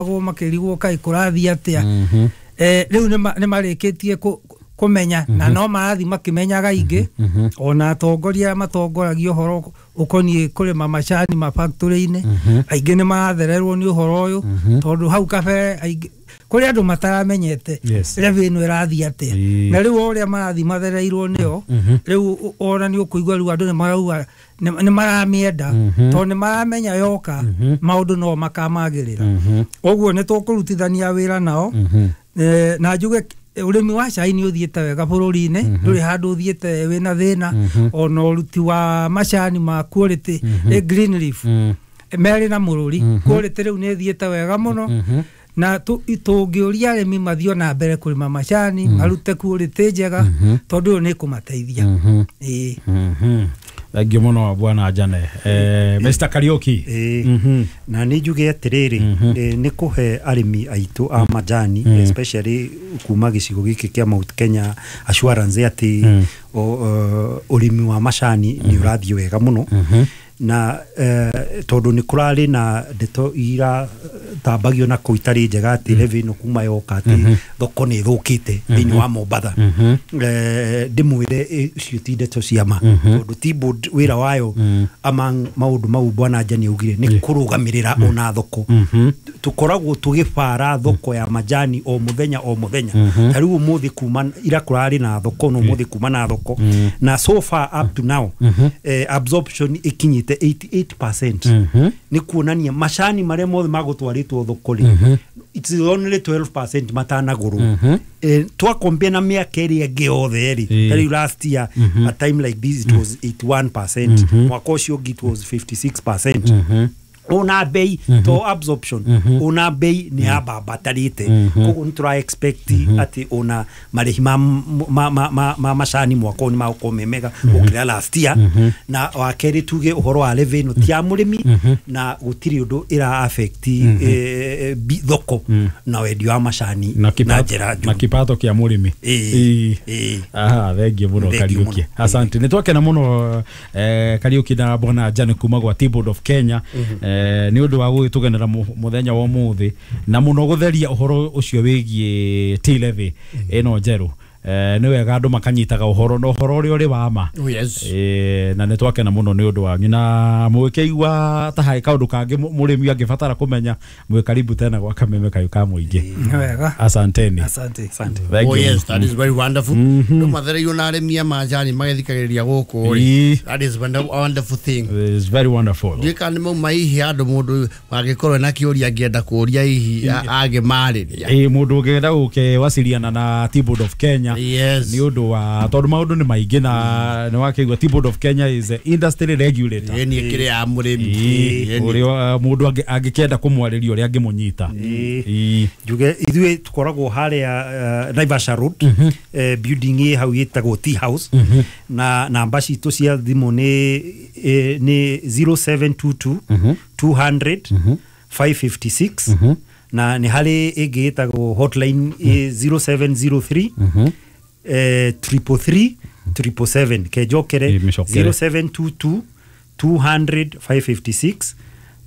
Makoragwo makĩrigwo kaĩ kũrathiĩ atĩa. Rĩu nĩ marĩkĩtie kũmenya na no marathiĩ makĩmenyaga ingĩ, ona atongoria arĩa matongoragia ũhoro ũkoniĩ kũrĩma macani ma factory-inĩ, aingĩ nĩ marathererwo nĩ ũhoro ũyũ, tondũ hau kabere aingĩ kũrĩ andũ mataramenyete levy ĩno ĩrathiĩ atĩa. Na rĩu o ũrĩa marathiĩ mathereirwo nĩyo, rĩu ona nĩ ũkũigua rĩu andũ nĩ marauga nĩ maramĩenda, tondũ nĩ maramenya yoka maũndũ no makamagĩrĩra. Ũguo nĩ tũkũrutithania wĩra nao. Na njuge ũrĩmi wa cai nĩ ũthiĩte wega bũrũri-inĩ, ndũrĩ handũ ũthiĩte wĩna thĩna. Ona ũruti wa macani ma quality, green leaf, merĩ na mũrũri quality rĩu nĩ ĩthiĩte wega mũno, na tũngĩũria arĩmi mathiĩ na mbere kũrĩma macani, marute quality njega, tondũ ũyũ nĩ kũmateithia. Ĩĩ. Thank you mũno, bwana Jane. Mr. Kariuki. Ĩĩ. Na nĩ njuge atĩrĩrĩ, nĩ kũhe arĩmi aitũ a majani, especially kuma gĩcigo gĩkĩ kĩa Mount Kenya, assurance atĩ ũrĩmi wa macani nĩ ũrathiĩ wega mũno, na tondũ nĩ kũrarĩ na ndeto iratambagio na kũu itarĩ njega atĩ levy ĩno kuma yoka atĩ thoko nĩ ĩthũkĩte thĩinĩ wa Mombatha. Ndĩmwĩre icio ti ndeto cia ma, tondũ Tea Board wĩra wayo, among maũndũ mau bwana Njani augire, nĩ kũrũgamĩrĩra ona thoko. Tũkoragwo tũgĩbara thoko ya majani o mũthenya o mũthenya. Ta rĩu ũmũthĩ kuma ira kũrarĩ na thoko, no ũmũthĩ kuma na thoko, na so far up to now absorption ĩkinyĩte 88%. Nĩ kuonania macani marĩa mothe magũtwarĩtwo thoko rĩ, it's only 12% matanagũrwo. Twakombia na mĩaka ĩrĩa ĩngĩ yothe rĩ, ta rĩu last year a time like this it was 81%, mwaka ũcio ũngĩ it was 56%. Ona bei to absorption, ona bei nĩ yambambatarĩte. Koguo nĩ tũra expect atĩ ona marĩhi ma macani mwaka ũyũ nĩ magũkorwo me mega gũkĩra last year. Na wa kerĩ, tuge ũhoro wa levy ĩno ti ya mũrĩmi, na gũtirĩ ũndũ ĩra affect thoko na wendia wa macani na na kipato, njĩra na njũru. Kipato kĩa mũrĩmi. Ĩĩ. Ĩĩ. Ĩĩ. Aha, thengiũ mũno. Thengiũ Kariuki. mũno. Asante, nĩ twakena mũno, Kariuki na bwana Jane kuma gwa Tea Board of Kenya, nĩ ũndũ wa gũgĩtũgenera mũthenya wa ũmũthĩ na mũno gũtheria ũhoro ũcio wĩgiĩ tea levy ĩno njerũ. Nĩ wega andũ makanyitaga ũhoro na ũhoro ũrĩa ũrĩ wa ma. Oh, yes. Na nĩ twakena mũno nĩ ũndũ wanyu, na mũgĩkĩigua ta harĩ kaũndũ kangĩ mũrĩmi angĩbatara kũmenya, mwĩ karibu tena gwa Kameme Kayũ ka Mũingĩ. Nĩ wega. Asanteni. Asante. Asante. Thank Oh you. yes, that is very wonderful. Ndå mathereirio na arĩmi a macani magĩthikagĩrĩria gũkũ rĩ. That is a wonderful thing. It's very wonderful. Ndiũĩ kana nĩ mauma hihi handũ mũndũ angĩkorwo na kĩũria angĩenda kũũria hihi angĩmarĩria. Ĩ, mũndũ ũngĩenda gũkĩwaciriana na Tea Board of Kenya nĩ ũndũ wa tondũ maũndũ nĩ maingĩ, na nĩ wakĩigua Tea Board of Kenya is a industry regulator. Ĩni ĩkĩrĩ ya mũrĩmi. Ĩni. Ũrĩa mũndũ angĩkĩenda kũmwarĩria, ũrĩa angĩmũnyita. Njuge ithuĩ tũkoragwo harĩa Naivasha Road, building ĩ hau ĩtagwo Tea House, na namba citũ cia thimũ nĩ 0722 200 556, na nĩ harĩ ĩngĩ ĩtagwo hotline 0703 333 777. Kenjokere. Ĩ, mĩcokere. 0722 200 556,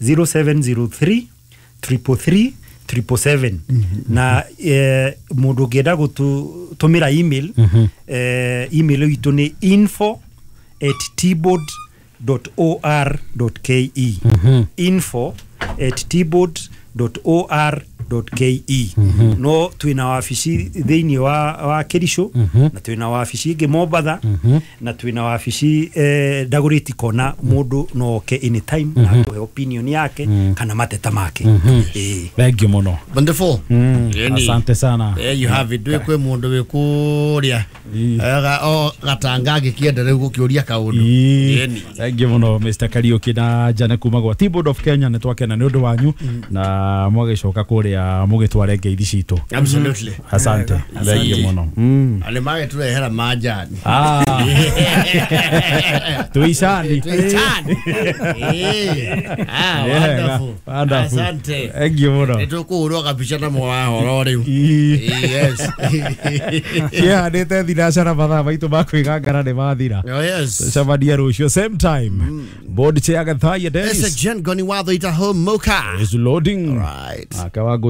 0703 333 777. Na mũndũ ũngĩenda gũtũmĩra email, email itũ nĩ info@teaboard.or.ke, info@teaboard.or.ke. No twĩna wabici thĩinĩ wa Kericho, na twĩna wabici ĩngĩ Mombatha, na twĩna wabici Dagoretti Kona. Mũndũ no oke anytime na atũhe opinion yake kana mateta make. Ĩĩ. Thank you mũno. Wonderful. Ĩni. Asante sana. There you have it. Ndũĩ kwĩ mũndũ wĩ kũrĩa o gatanga angĩkĩenda rĩu gũkĩũria kaũndũ. Ĩni. Thank you mũno, Mr. Kariuki na Jane kuma gwa Tea Board of Kenya. Nĩ twakena nĩ ũndũ wanyu, na mwagĩcoka kũrĩa mũgĩtware ngeithi. ibindi citũ. Absolutely. Asante. Thengiũ mũno. Nĩ magĩtũrehera majani. Ah. Tuicani. Tuicani. Ah, wonderful. Wonderful. Asante. Thengiũ mũno. Nĩ tũkũhũrwo kabica na mwahoro rĩu. Ii. Yes. Kĩhandĩte thinacara mathaa maitũ ma kwĩgangara nĩ mathira. Oh, yes. Cemania rũciũ same time. Board chair Gathaiya It's a Dennis Jen Goni Watho ita home moka. is loading. Right. Akawangũ.